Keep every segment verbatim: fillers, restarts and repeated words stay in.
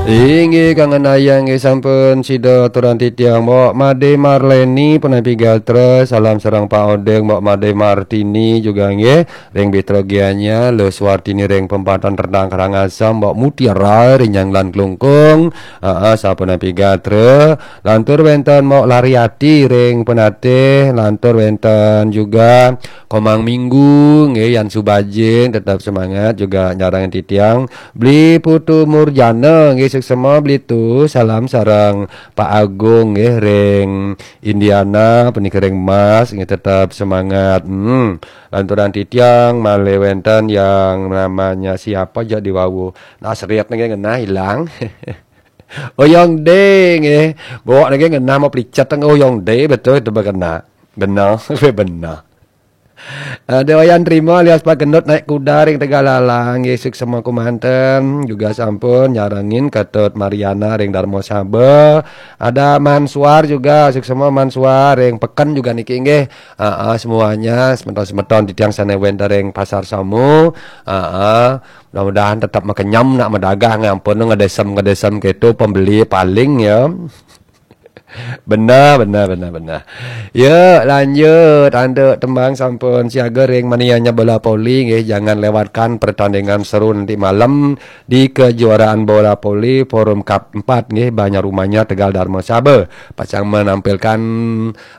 Inggih, kangen ayah nggih, sampun sida aturang titiang, Mbok Made Marleni, Penapi Gatra, salam sareng Pak Odeng, Mbok Made Martini juga nggih, ring Bitra Gianyar, Luh Suwartini ring Pempatan Rendang Karangasem, Mbok Mutiara ring Nyanglan Klungkung, heeh, sapunapi gatra, lantur wenten Mbok Lariati ring Penatih, lantur wenten juga Komang Minggu, nggih, Yan Subajing, tetap semangat juga nyarengin titiang, Beli Putu Murjana, nggih, suksema Beli Tu, salam sareng Pak Agung, nggih, ring Indiana, punika ring Mas, nggih, tetap semangat. Hmm. Lanturan titiang malih wenten yang namanya siapa aja di wau. Nah, seriat nggih ngenah ilang. Oyong D nggih. Bawa nggih ngenah mau pelicet nggih Oyong D, betul itu benar. Benar, benar. Ada Wayan Trima alias Pak Gendut naik kuda ring Tegallalang, nggih, suksema kumanten, juga sampun nyarengin Ketut Mariana ring Darma Saba. Ada Mansuar juga, suksema Mansuar ring Peken juga niki nggih. Heeh, semuanya semeton-semeton titiang sane wenten ring Pasar Samu. Heeh, mudah-mudahan tetap makenyem nak madagang, ampun ngedesem-ngedesem gitu pembeli paling ya. Benar, benar, benar, benar. Ya, lanjut. Antuk tembang sampun siaga ring manianya bola voli, nggih, jangan lewatkan pertandingan seru nanti malam di kejuaraan bola voli Forum Cup empat, nggih, Banjar Umanyar Tegal Darma Saba. Pacang menampilkan,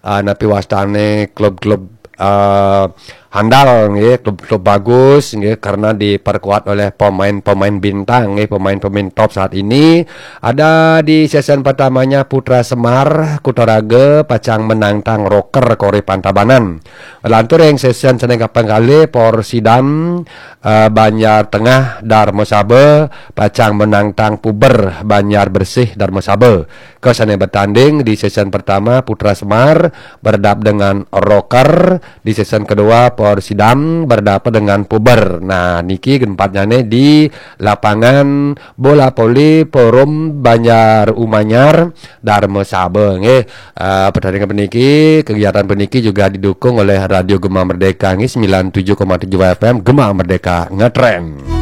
ah, napi wastane klub-klub, ah, handal, nggih, klub-klub bagus, nggih, karena diperkuat oleh pemain-pemain bintang, nggih, pemain-pemain top saat ini. Ada di sesi pertamanya Putra Semar Kutaraga pacang menantang Rocker Koripang Tabanan. Lantur ring sesi sane kaping kalih Porsidam, eh, Banjar Tengah Darma Saba pacang menantang Puber Banjar Bersih Darma Saba. Ke sane bertanding di sesi pertama Putra Semar berhadapan dengan Rocker, di sesi kedua Porsidam berhadapan dengan Puber. Nah, niki gempatnyane di lapangan bola voli Forum Banjar Umanyar Darma Saba, nggih. Eh, pertandingan peniki, kegiatan peniki juga didukung oleh Radio Gema Merdeka, nggih, sembilan tujuh koma tujuh F M, Gema Merdeka ngetren.